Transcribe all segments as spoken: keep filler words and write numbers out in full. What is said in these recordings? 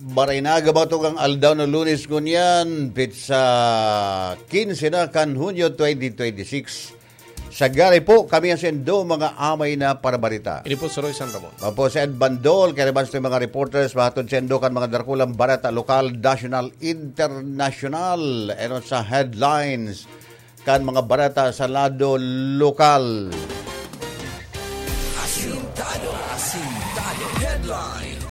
Barinaga bato kang aldaw na Lunes ngunyan, petsa quince na kan Hunyo twenty twenty-six. Sa gari po, kami ang sendo, mga amay na parabarita. Ini po si Roy San Ramon. Mapo si Ed Bandol, kaya naman sa mga reporters, mahatod sendo kan mga dakulang bareta lokal, national, international, enon sa headlines kan mga bareta sa lado lokal. Asintado, asintado, headlines.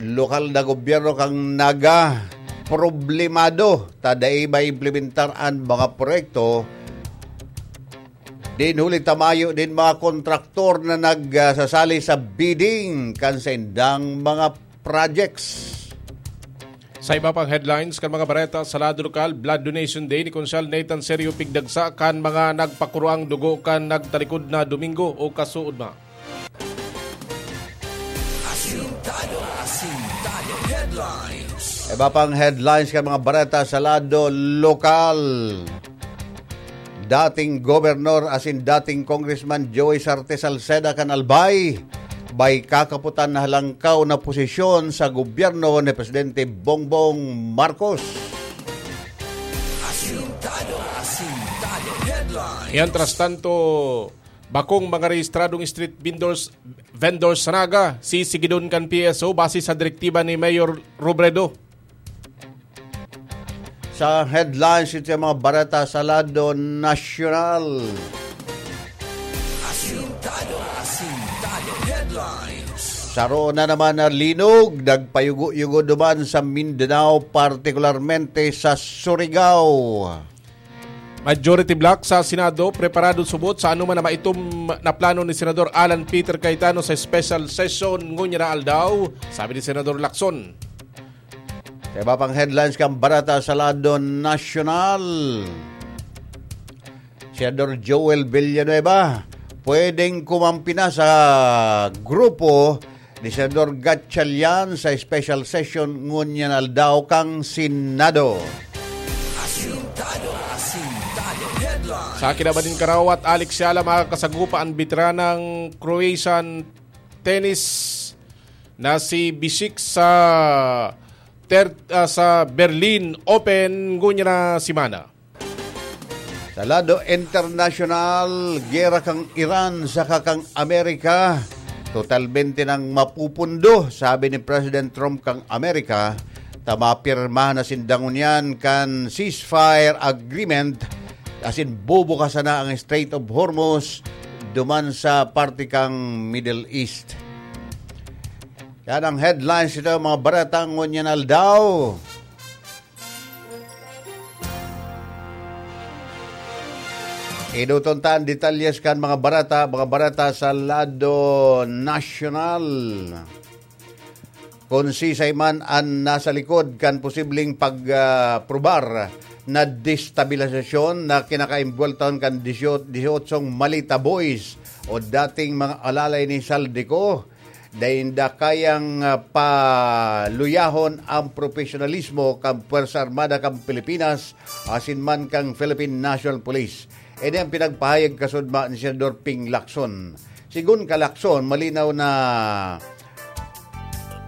Lokal na gobyerno kan Naga problemado ta dai maimplementar an mga proyekto. Din huli ta mayo din mga kontraktor na nagsasali sa bidding kan saindang mga projects. Sa iba pang headlines kan mga bareta sa lado lokal, Blood Donation Day ni Konsehal Nathan Serio pigdagsa kan mga nagpakuroang dugo kan nagtalikod na Domingo o kasuodma. Asintado, asintado, headlines. Iba pang headlines kan mga bareta sa lado lokal. Dating gobernador asin dating Congressman Joey Sarte Salceda kan Albay, may kakaputan na halangkaw na posisyon sa gobyerno ni Presidente Bongbong Marcos. Asintado, asintado, headlines. Mientras tanto, bakong mga rehistradong street vendors, vendors sa Naga, sisigidon kan P S O base sa direktiba ni Mayor Robredo. Sa headlines, ito yung mga bareta sa lado nasyonal. Asintado, asintado, headlines. Saro na naman na linog, nagpayugo-yugo duman sa Mindanao, partikularmente sa Surigao. Majority Bloc sa Senado preparado subot sa anuman na maitom na plano ni Senador Alan Peter Cayetano sa special session ngunyan na aldaw, sabi ni Senador Lacson. Sa iba pang headlines kan bareta sa lado nasyonal, Senador Joel Villanueva pwedeng kumampi na sa grupo ni Senador Gatchalian sa special session ngunyan aldaw kan Senado. Asintado, asintado, headlines. Sa kinaban nin karawat, Alex Yala makakasagupa an beteranang Croatian tennis na si Bisic sa ter-, ah, sa Berlin Open ngunyan na semana. Sa lado internasyonal, gera kan Iran saka kan Amerika, totalmente nang mapupundo, sabi ni President Trump kan Amerika, ta mapirmahan na sinda ngunyan kan ceasefire agreement, asin bubukasan na ang Strait of Hormuz duman sa parte kan Middle East. Yan ang headlines nito, mga bareta ngunyan aldaw. Iduton ta an detalyes kan mga bareta, mga bareta sa lado nasyonal. Kun sisay man an nasa likod kan posibleng pag, ah, probar na destabilisasyon na kinakaimbuweltahon kan disyo-, disyotsyong Malita Boys o dating mga alalay ni Zaldy Co, dai ninda kayang, ah, paluyahon ang propesyonalismo kan Pwersa Armada kan Pilipinas asin man kan Philippine National Police. Ini ang pinagpahayag kasuodma ni Senador Ping Lacson. Sigon ka Lacson, malinaw na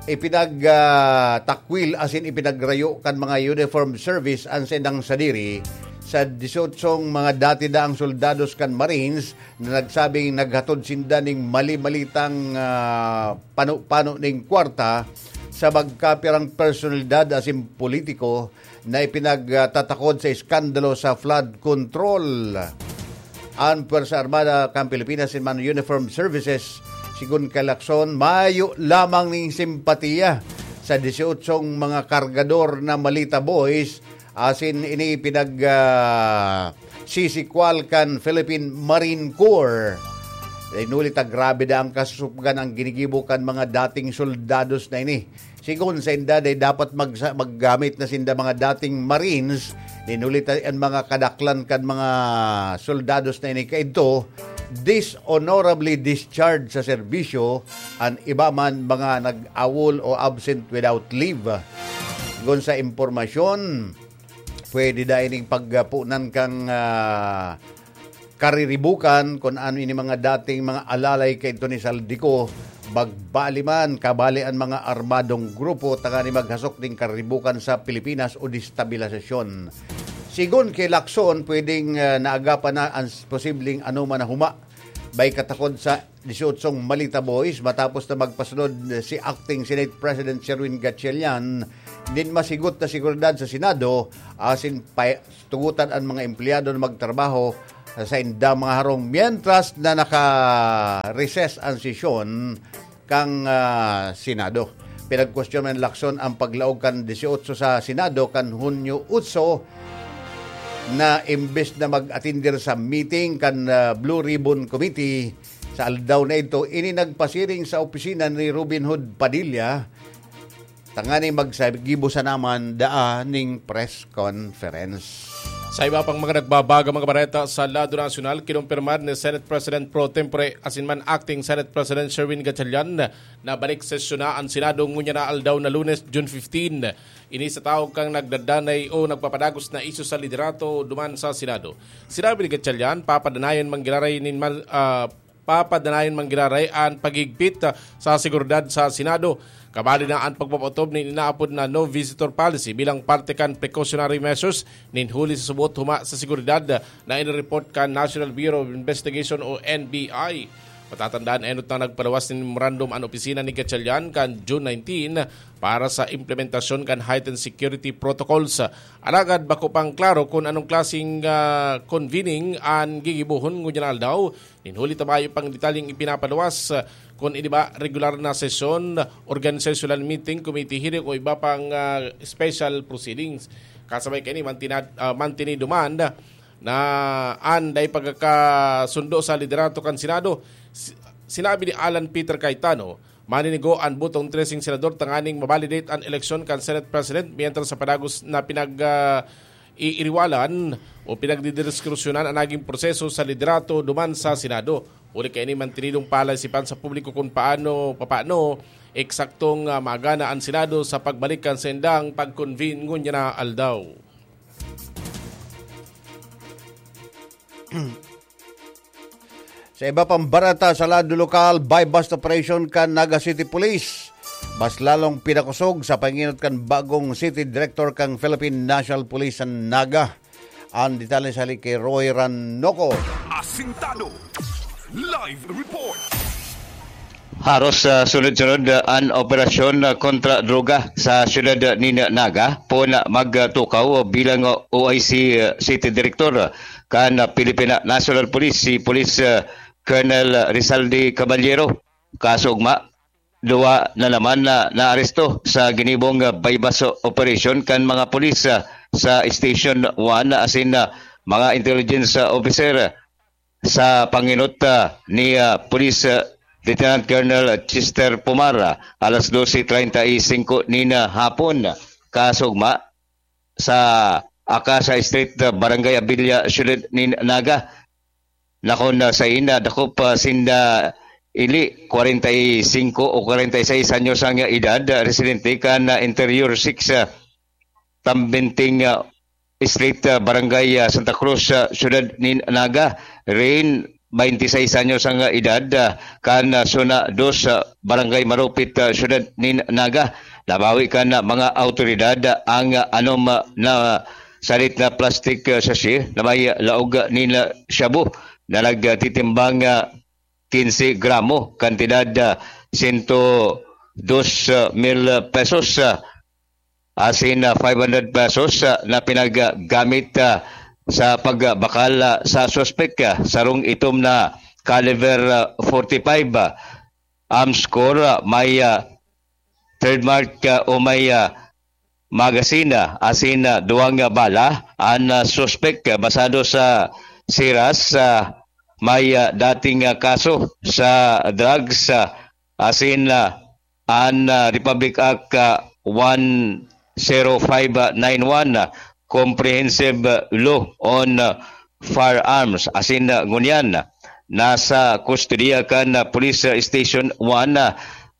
ipinag, ah, takwil asin ipinagrayo kan mga uniform service an saindang sadiri sa disyotsyong mga dati daang soldados kan Marines na nagsabing naghatod sinda ning mali-malitang, ah, pano-pano ning kwarta sa magkapirang personalidad asin politiko na ipinagtatakod sa iskandalo sa flood control. An Pwersa Armada kan Pilipinas asin man Uniformed Services, sigon kay Lacson, mayo lamang ning simpatiya sa disyotsyong mga kargador na Malita Boys asin ini pinag, ah, sisikwal kan Philippine Marine Corps. Inuli ta grabe daa an kasusupgan an ginigibo kan mga dating soldados na ini. Sigon sainda, dai dapat magsa-, maggamit na sinda mga dating Marines, inuli ta an mga kadaklan kan mga soldados na ini kaidto, dishonorably discharged sa serbisyo, an iba man mga nag-AWOL o absent without leave. Sigon sa impormasyon, pwede daa ining pagpunan kan, ah, kariribukan, kun ano ini mga dating mga alalay kaidto ni Zaldy Co, bagbali man, kabali an mga armadong grupo tangani maghasok ning kariribukan sa Pilipinas o destabilisasyon. Sigon kay Lacson, pwedeng, ah, naagapan na ang s-, posibleng anoman na huma. May katakod sa disyotsyong Malita Boys matapos na magpasunod si Acting Senate President Sherwin Gatchalian nin masigot na seguridad sa Senado asin pa-, tugutan an mga empleyado na magtrabaho sa indang mga harong, mientras na naka-recess ang sesyon kan, ah, Senado. Pinagkwestiyon man ni Lacson ang paglaog kan disyotso sa Senado kan Hunyo otso na imbes na mag-atender sa meeting kan, ah, Blue Ribbon Committee sa aldaw na idto, ini nagpasiring sa opisina ni Robin Hood Padilla tanganing magsagibo sana man daa ning press conference. Sa iba pang mga nagbabaga mga bareta sa lado nasyonal, kinumpirmar ni Senate President Pro Tempore asin man Acting Senate President Sherwin Gatchalian na balik sesyon na ang Senado ngunyan na aldaw na Lunes, June fifteen. Ini sa taog kan nagdadanay o nagpapadagos na isyu sa liderato duman sa Senado. Sinabi ni Gatchalian, papadanayon man giraray nin mal-, ah, papadanayon man giraray an paghigpit, ah, sa seguridad sa Senado. Kabali na an pagpapaotob nin inaapod na no visitor policy bilang parte kan precautionary measures nin huli sa subot huma sa seguridad, ah, na inireport kan National Bureau of Investigation o N B I. Matatandaan, enot na nagpaluwas nin memorandum an opisina ni Gatchalian kan June nineteen para sa implementasyon kan heightened security protocols. Alagad bako pang klaro kun anong klaseng, ah, convening an gigibohon ngunyan na aldaw. Nin huli ta mayo pang detalyeng ipinapaluwas, ah, kun ini ba regular na sesyon, organizational meeting, committee hearing o iba pang, ah, special proceedings. Kasabay kaini, mantinad-, ah, mantinido man na an dai pagkakasundo sa liderato kan Senado. Si-, sinabi ni Alan Peter Cayetano, maninigo an botong treseng senador tanganing ma-validate an eleksyon kan Senate President mientras sa padagos na pinag, ah, iiriwalan o pinagdidiskusyonan an naging proseso sa liderato duman sa Senado. Huli kaini, mantinidong palaisipan sa publiko kun paano, papaano eksaktong, ah, magana an Senado sa pagbalik kan saindang pag-convene ngunyan na aldaw. Sa iba pang bareta sa lado lokal, buy-bust operation kan Naga City Police. Mas lalong pinakosog sa panginot kan bagong city director kan Philippine National Police sa Naga. Ang detalye sa hali kay Roy Ranoco. Asintado. Live report. Haros sa sunod-sunod, ah, an operasyon, ah, kontra droga sa siyudad, ah, nin Naga, poon, ah, magtukaw bilang, ah, O I C, ah, City Director, ah, kan, ah, Philippine National Police, si Police, ah, Colonel Rizaldi Caballero. Kaso ugma, duwa na naman na naaresto sa ginibong, ah, buy-bust operation kan mga pulis, ah, sa Station one asin, ah, mga intelligence, ah, officer. Sa panginot, ah, ni, ah, Police, ah, Lieutenant Colonel Chester Pumar, ah, alas dose treinta y cinco nin, ah, hapon, kasugma sa Akasa Street, ah, Barangay Abilia, Siyudad nin Naga. Nakon, ah, sain, ah, dakop, ah, sinda ili, kwarenta y singko o kwarenta y seis anyos ang edad, ah, residente kan, ah, Interior six, ah, Tambinting, ah, Street, ah, Barangay, ah, Santa Cruz, ah, Siyudad nin Naga. Rin, baynte seis anyos ang, ah, edad, ah, kan, ah, Zona dos, ah, Barangay Marupit, ah, Siyudad nin Naga. Nabawi kan, ah, mga awtoridad, ah, ang, ah, anom, ah, na salit na plastic, ah, sachet na may, ah, laog, ah, nin, ah, shabu na nagtitimbang, ah, quince gramo, kantidad, ah, sento dos mil pesos, ah, asin, ah, five hundred pesos, ah, na pinaggamit, ah, sa pagbakal, ah, sa suspek, ah, sarong itom na caliber, ah, forty-five, ah, armscor, ah, may, ah, trademark, ah, o may, ah, magazine, ah, asin, ah, duwang, ah, bala. An, ah, suspek, ah, basado sa siras, ah, may, ah, dating, ah, kaso sa drugs, ah, asin, ah, an, ah, Republic Act, ah, one zero five nine one, ah, Comprehensive, ah, Law on, ah, Firearms. Asin, ah, ngunyan, nasa kustodiya kan, ah, Police, ah, Station one, ah,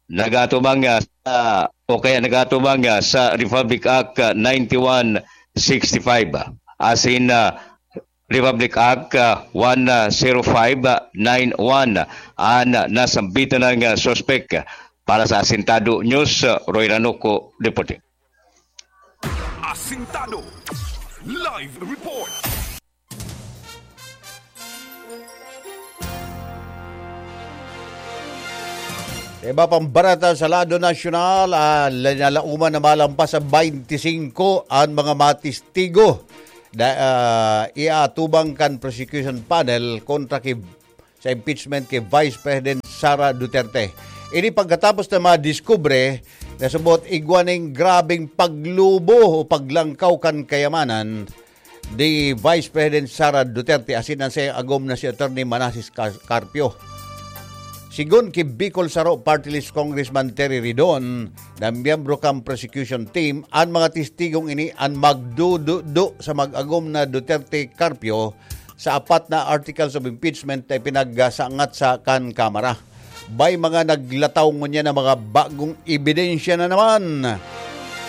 nagatubang, ah, sa, o kaya nagatubang, ah, sa Republic Act, ah, ninety-one sixty-five. Asin, ah, Republic Act ah, one zero five nine one an nasambitan ng ah, suspek. Para sa Asintado News, ah, Roy Ranuco, reporting. Asintado Live Report. Sa iba pang barata sa lado nasyonal, ah, linalauman na malampas sa twenty-five an mga matistigo na ah, iaatubang kan prosecution panel kontra ki sa impeachment ki Vice President Sara Duterte. Ini pagkatapos na madiskubre na subot igwa ning grabeng paglubo o paglangkaw kan kayamanan ni Vice President Sara Duterte asin an saiyang agom na si Attorney Manases Car- Carpio. Sigon ki Bicol Saro Party List Congressman Terry Ridon na miyembro kan prosecution team, an mga testigong ini an magdududo sa mag-agom na Duterte Carpio sa apat na articles of impeachment na ipinagsangat sa kan Kamara. May mga naglataw ngunyan na mga bagong ebidensya na naman.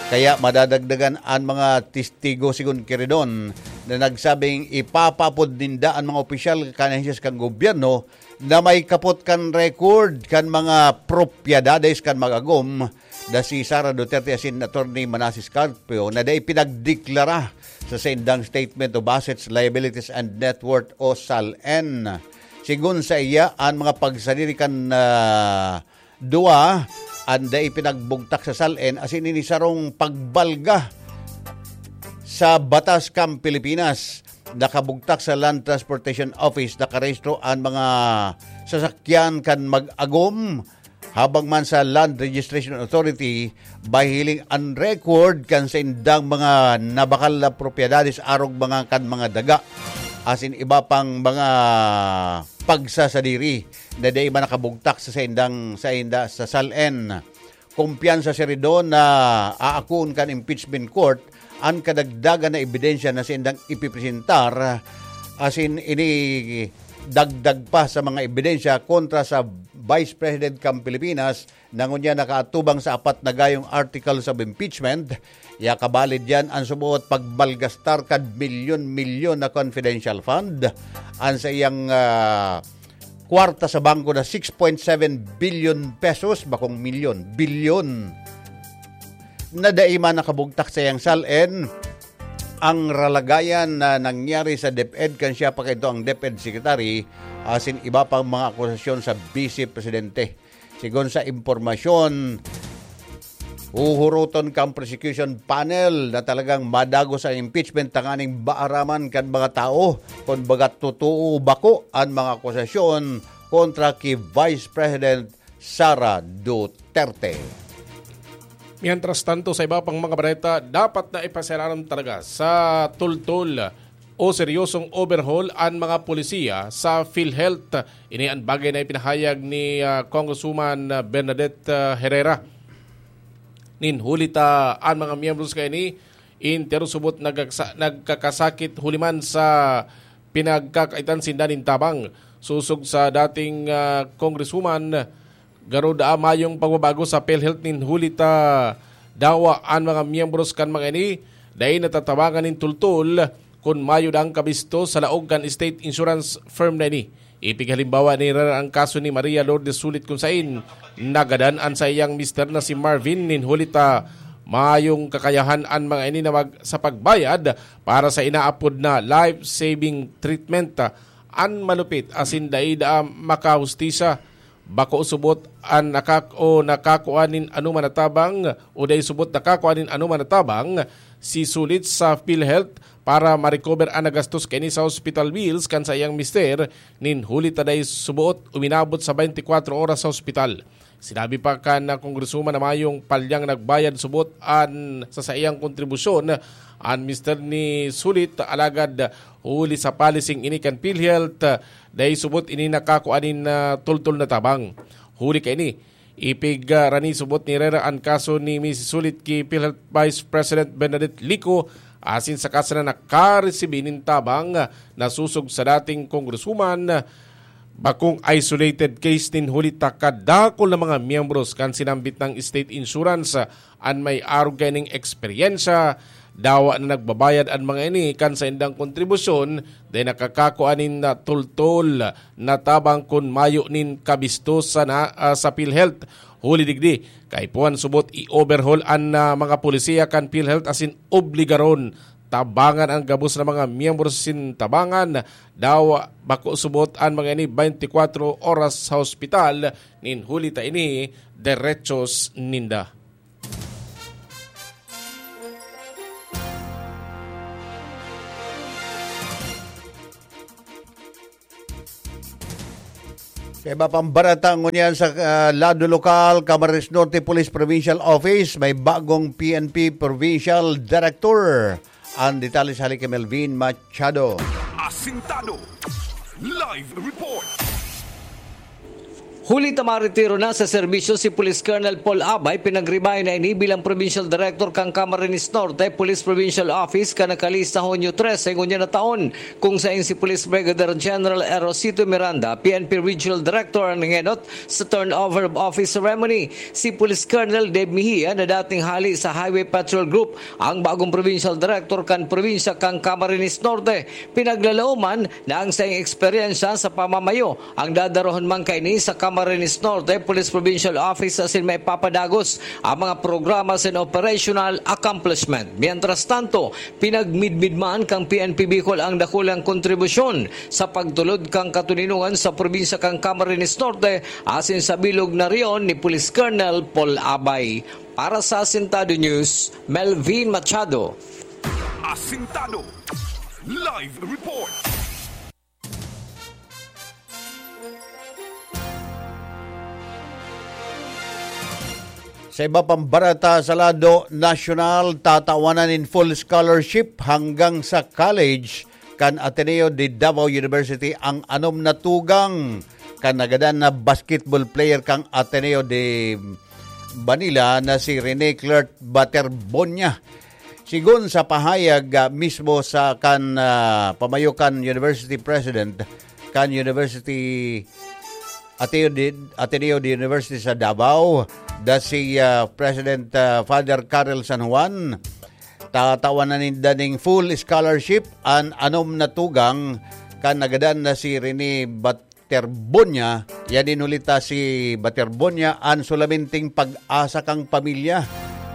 Kaya madadagdagan an mga testigo, sigon ki Ridon, na nagsabing ipapapod ninda an mga opisyal kan ahensya kan gobyerno na may kapot kan record kan mga propiedades kan mag-agom na si Sara Duterte asin Attorney Manases Carpio na dai pinagdeklara sa saindang Statement of Assets, Liabilities and Net Worth o SALN. Sigon sa iya, an mga pagsadiri kan ah, duwa an dai pinagbugtak sa SALN asin ini sarong pagbalga sa batas kan Pilipinas. Nakabugtak sa Land Transportation Office, nakarehistro an mga sasakyan kan mag-agom, habang man sa Land Registration Authority, mahihiling an record kan saindang mga nabakal na propiedades arog mga kan mga daga asin iba pang mga pagsasadiri na dai man nakabugtak sa saindang sainda sa SALN. Kumpiyansa si Ridon na aakuon kan impeachment court an kadagdagan na ebidensya na saindang ipipresentar asin ini dagdag pa sa mga ebidensya kontra sa Vice President kan Pilipinas na ngunyan nakaatubang sa apat na gayong articles of impeachment. Iyakabalid diyan an suboot pagmalgastar kan milyon-milyon na confidential fund, an sa iyang ah, kwarta sa bangko na six point seven billion pesos, bakong milyon, bilyon, na dai man nakabugtak sa iyang SALN. Ang ralagayan na nangyari sa DepEd kan siya pa kaidto ang DepEd Secretary asin iba pang mga akusasyon sa Vice Presidente. Sigon sa impormasyon, huhuroton kan prosecution panel na talagang madagos ang impeachment tanganing maaraman kan mga tao kun baga totoo o bako an mga akusasyon kontra ki Vice President Sara Duterte. Mientras tanto, sa iba pang mga bareta, dapat na ipasalaram talaga sa tultol o seryosong overhaul an mga polisiya sa PhilHealth. Ini an bagay na ipinahayag ni ah, Congresswoman ah, Bernadette ah, Herrera. Nin huli ta an mga miyembros kaini, entero subot nagkaksa- nagkakasakit huli man sa pinagkakaitan sinda nin tabang. Sosog sa dating ah, Congresswoman, garo daa mayong pagbabago sa PhilHealth nin huli ta dawa an mga miyembros kan mga ini dai natatabangan nin tultol kun mayo daang kabisto sa laog kan state insurance firm na ini. Ipighalimbawa ni Rara ang kaso ni Maria Lourdes Sulit kun sain nagadan an saiyang mister na si Marvin nin huli ta mayong kakayahan an mga ini na mag, sa pagbayad para sa inaapod na life-saving treatment. An malupit asin dai daa makahustisya, bako subot an nakak o nakakua nin anoman na tabang o dai subot nakakua nin anoman na tabang si Sulit sa PhilHealth para ma-recover an nagastos kaini sa hospital bills kan saiyang mister nin huli ta dai suboot uminabot sa twenty-four oras sa hospital. Sinabi pa kan Kongresoman na mayong palyang nagbayad subot an sa saiyang kontribusyon an mister ni Sulit, alagad huli sa policing ini kan PhilHealth, dai subot ini nakakua nin ah, tultol na tabang. Huli kaini, ipig ah, rani subot ni Herrera an kaso ni Misis Sulit ki PhilHealth Vice President Bernadette Lico asin saka sana nakaresibi nin tabang na susog sa dating kongresoman. Bakong isolated case nin huli ta kadakul na mga miyembros kan sinambit nang state insurance an may arog kaining eksperyensya Dawa na nagbabayad an mga ini kan saindang kontribusyon, dai nakakakua nin, ah, tultol na tabang kun mayo nin kabisto sana, ah, sa PhilHealth. Huli digdi, kaipuhan subot i-overhaul an, ah, mga polisiya kan PhilHealth asin obligaron tabangan an gabos na mga miyembro sin tabangan. Dawa bako subot an mga ini twenty-four oras sa hospital, nin huli ta ini derechos ninda. Sa iba pang barata ngunyan sa, ah, lado lokal, Camarines Norte Police Provincial Office, may bagong P N P Provincial Director. Ang detalye sa hali ki Melvin Machado. Asintado. Live report. Huli ta maretiro na sa serbisyo si Police Colonel Paul Abay, pinagribayan na ini bilang Provincial Director kan Camarines Norte Police Provincial Office kan nakalista Hunyo trese ngunyan na taon, kung sain si Police Brigadier General Erosito Miranda, P N P Regional Director, an nag-enot sa turnover of office ceremony. Si Police Colonel Dave Mejia, na dating hali sa Highway Patrol Group, ang bagong Provincial Director kan probinsya kan Camarines Norte. Pinaglalaoman na ang saiyang eksperyensya sa pamamayo ang dadarahon man kaini sa Camarines Norte Police Provincial Office asin maipapadagos ang mga programa asin operational accomplishment. Mientras tanto, pinagmidmid man kan P N P Bicol ang dakulang kontribusyon sa pagtulod kan katoninongan sa probinsya kan Camarines Norte asin sa bilog na rehiyon ni Police Colonel Paul Abay. Para sa Asintado News, Melvin Machado. Asintado. Live report. Sa iba pang barata sa lado nasyonal, tatawanan nin full scholarship hanggang sa college kan Ateneo de Davao University ang anom na tugang kan nagadan na basketball player kan Ateneo de Manila na si Rene Clerk Baterbonia. Sigon sa pahayag, ah, mismo sa kan, ah, pamayo kan University President kan University Ateneo de, Ateneo de University sa Davao, da si, ah, President, ah, Father Carl San Juan, tatawan na ninda ning full scholarship an anom na tugang kan nagadan na si Rene Bat-, Terbonia, yan inulita si Baterbonia, an sulaminting pag-asa kang pamilya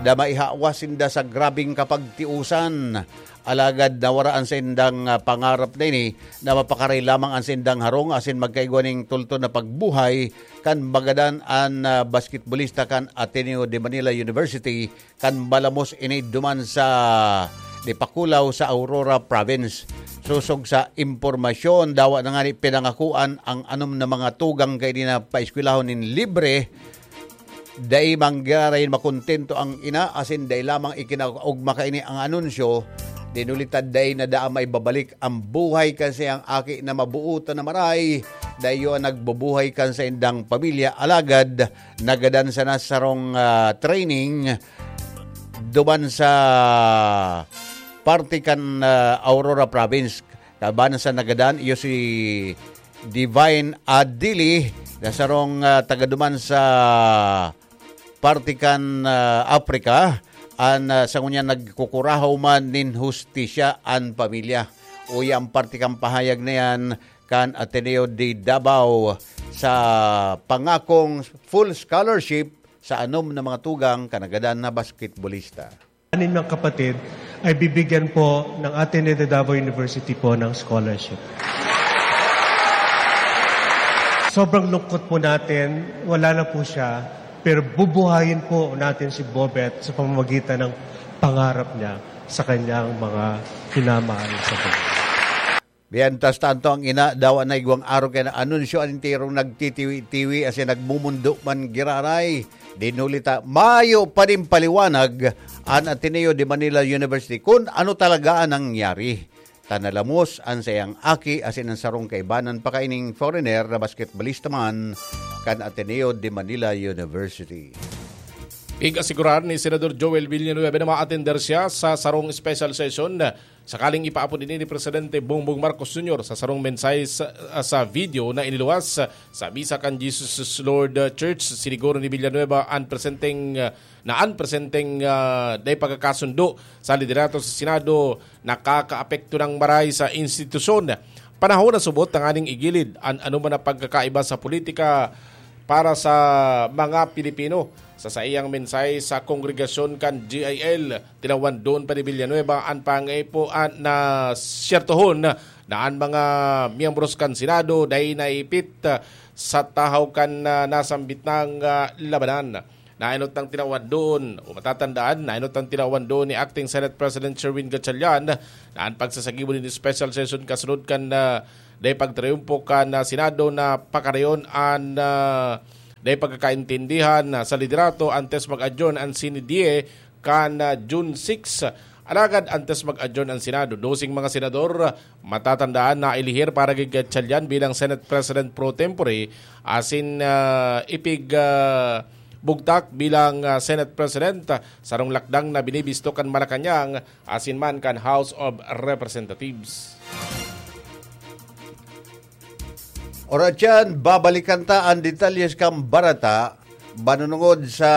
na maihawas sinda sa grabing kapagtiusan. Alagad nawara an saindang, ah, pangarap na ini na mapakaray lamang an saindang harong asin magkaigwa ning tultol na pagbuhay kan magadan an, ah, basketbolista kan Ateneo de Manila University kan balamos ini duman sa Dipakulaw sa Aurora Province. Sosog sa impormasyon, dawa na ngani pinangakuan ang anom na mga tugang kaini na paeskwelahon nin libre. Dai man giraray makontento ang ina, asin dai lamang ikinaugma kaini ang anunsyo. Dinulitad dai na daa maibabalik ang buhay kan saiyang aki na mabuotan na maray. Dai iyo an nagbubuhay kan saindang pamilya, alagad nagadan sana sarong, ah, training duman sa parte kan, ah, Aurora Province. Kaban sa nagadan, iyo si Divine Adili, na sarong, ah, taga duman sa parte kan, ah, Africa, an, ah, sa ngunyan nagkukurahaw man nin hustisya an pamilya. Uya ang parte kan pahayag na yan kan Ateneo de Davao sa pangakong full scholarship sa anom na mga tugang kan nagadan na basketbolista. Anim niyang kapatid ay bibigyan po ng Ateneo de Davao University po ng scholarship. Sobrang lungkot po natin, wala na po siya, pero bubuhayin po natin si Bobet sa pamamagitan ng pangarap niya sa kanyang mga minamahal sa buhay. Mientras tanto, ang ina dawa na igwang arog kan anunsyo, an enterong nagtitiwi-tiwi asin nagmumundo man giraray. Dinulita, mayo pa nin paliwanag an Ateneo de Manila University kun ano talaga an nangyari. Ta nalamos an saiyang aki asin an sarong kaibanan pa kaining foreigner na basketbolista man kan Ateneo de Manila University. Pig-asigurar ni Senador Joel Villanueva na maatender siya sa sarong special session sakaling ipaapod ini ni Presidente Bongbong Marcos Junior. Sa sarong mensahe sa, sa video na iniluwas sa misa kan Jesus is Lord Church, siniguro ni Villanueva an presenteng, na an presenteng, ah, dai pagkakasundo sa liderato sa Senado nakakaapekto ng maray sa institusyon. Panahon na subot tanganing igilid an anuman na pagkakaiba sa politika para sa mga Pilipino. Sa saiyang mensahe sa kongregasyon kan G I L, tinawan doon pa ni Villanueva an pangaipo an na siyertohon na an mga miyembros kan Senado dai naipit sa tahaw kan, ah, nasambit nang, ah, labanan. Nainot ang tinawan doon, o matatandaan, nainot ang tinawan doon ni Acting Senate President Sherwin Gatchalian na an pagsasagibo nin special session kasunod kan, ah, dai pagtriumpo kan, ah, Senado na pakarayon an, ah, dai pagkakaintindihan, ah, sa liderato antes mag-adjourn an Senadie kan, ah, June six. Alagad antes mag-adjourn an Senado, doseng mga senador, matatandaan na ilihir para kay Gatchalian bilang Senate President pro tempore asin, ah, ipig, ah, bugtak bilang, ah, Senate President, ah, sarong lakdang na binibisto kan Malacañang asin man kan House of Representatives. Oratyan, babalikan ta an detalyes kan barata, manunungod sa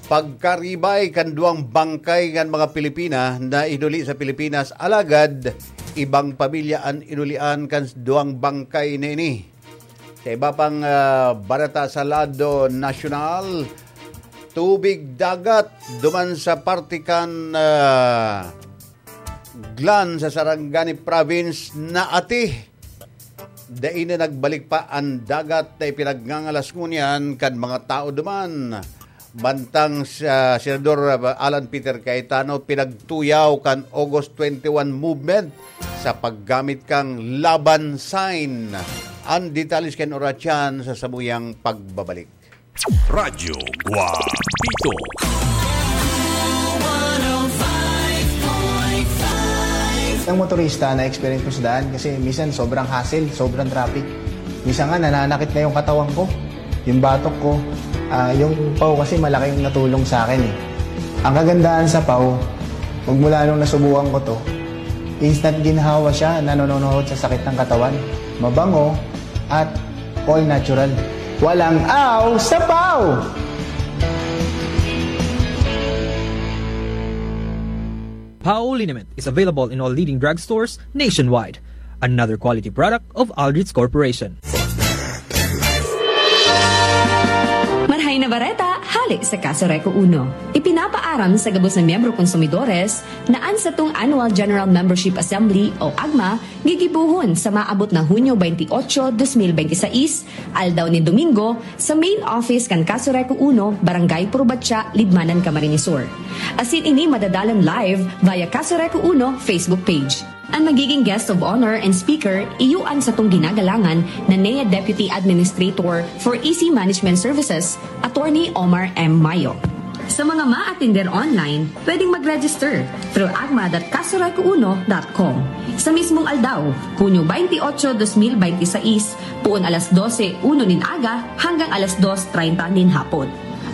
pagkaribay kan duwang bangkay kan mga Pilipina na inuli sa Pilipinas, alagad ibang pamilya an inulian kan duwang bangkay na ini. Sa iba pang, ah, barata sa lado nasyonal, tubig dagat duman sa parte kan, ah, Glan sa Sarangani Province naati. Dai na nagbalik pa an dagat na ipinagngangalas ngunyan kan mga tao duman. Mantang sa Senador Alan Peter Cayetano, pinagtuyaw kan August twenty-one movement sa paggamit kan laban sign. An detalye kan oras yan sa samuyang pagbabalik. Radyo Guapito. Ng motorista na experience ko sa daan kasi minsan sobrang hassle, sobrang traffic. Minsan nga nananakit na yung katawan ko, yung batok ko. Ah, yung paw kasi malaking natulong sa akin eh. Ang kagandahan sa paw, magmula nung nasubukan ko to, instant ginhawa siya, nanononohod sa sakit ng katawan. Mabango at all natural. Walang aw sa paw! Pao liniment is available in all leading drugstores nationwide. Another quality product of Aldrich Corporation. Marhay na bareta, hale sa Kaso Reco Uno. Ipinapaaram sa gabos na miyembro konsumidores na an satong Annual General Membership Assembly o agma gigibohon sa maabot na Hunyo twenty-eight, twenty twenty-six, aldaw nin Domingo, sa main office kan Kaso Reco Uno, Barangay Purbatya, Libmanan, Camarines Sur. Asin ini madadalan live via Kaso Reco Uno Facebook page. An magiging guest of honor and speaker, iyo an satong ginagalangan na N E A Deputy Administrator for E C Management Services, Attorney Omar M. Mayo. Sa mga maatender online, pwedeng mag-register through agma dot kasoreco uno dot com. Sa mismong aldaw, Hunyo twenty-eight, twenty twenty-six, puon alas dose uno nin aga hanggang alas dos treinta nin hapon.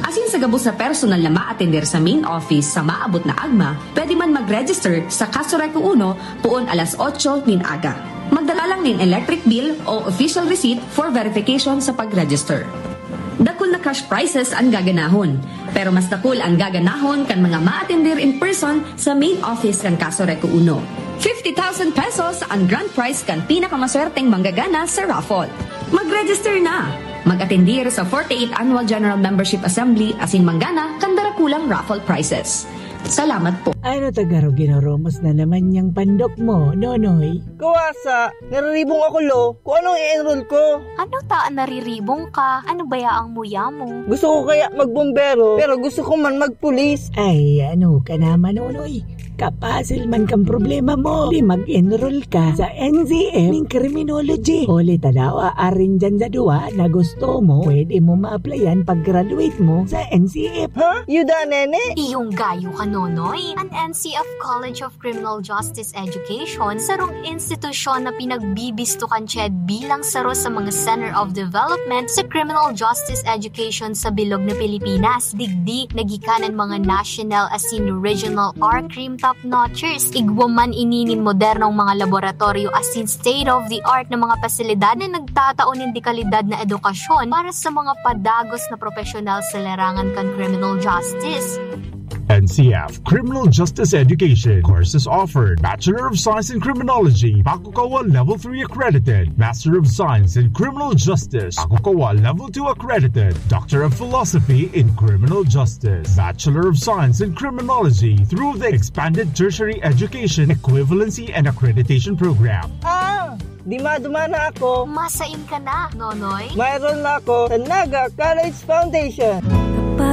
Asin sa gabos na personal na maatender sa main office sa maabot na agma, pwede man mag-register sa Kaso Reco Uno puon alas otso nin aga. Magdala lang nin electric bill o official receipt for verification sa pag-register. Dakul na cash prizes an gaganahon, pero mas dakul an gaganahon kan mga maatender in person sa main office kan Kaso Reco Uno. Fifty thousand pesos an grand prize kan pinakamaswerteng manggagana sa raffle. Mag-register na! Mag-atendir sa forty-eighth Annual General Membership Assembly asin manggana kan darakulang raffle prizes. Salamat po. Ano ta garo ginurumos na naman yang pandok mo, Nonoy? Kawasa, nariribong ako, lo. Kung anong i-enroll ko. Ano ta an nariribong ka? Ano baya ang muya mo? Gusto ko kaya magbombero, pero gusto ko man magpulis. Ay, ano ka naman, Nonoy? Kapasil man kang problema mo. Di mag-enroll ka sa N C F ning criminology. Huli ta daw, aarin dyan sa duwa na gusto mo, pwede mo ma-applyan pag-graduate mo sa N C F. Ha? Yuda, nene? Iyong gayo ka Nonoy, an N C F College of Criminal Justice Education, sarong institusyon na pinagbibisto kan CHED bilang saro sa mga Center of Development sa criminal justice education sa bilog na Pilipinas. Digdi, nagikan an mga national asin regional R-Crim top-notchers. Igwa man ini nin modernong mga laboratoryo asin state-of-the-art na mga pasilidad na nagtatao nin dekalidad na edukasyon para sa mga padagos na profesional sa larangan kan criminal justice. N C F Criminal Justice Education. Courses offered: Bachelor of Science in Criminology, Pakukawa Level three accredited; Master of Science in Criminal Justice, Pakukawa Level two accredited; Doctor of Philosophy in Criminal Justice, Bachelor of Science in Criminology, through the Expanded Tertiary Education Equivalency and Accreditation Program. Ah! Dima-duma na ako. Masain ka na, Nonoy. Mayroon na ako sa Naga College Foundation.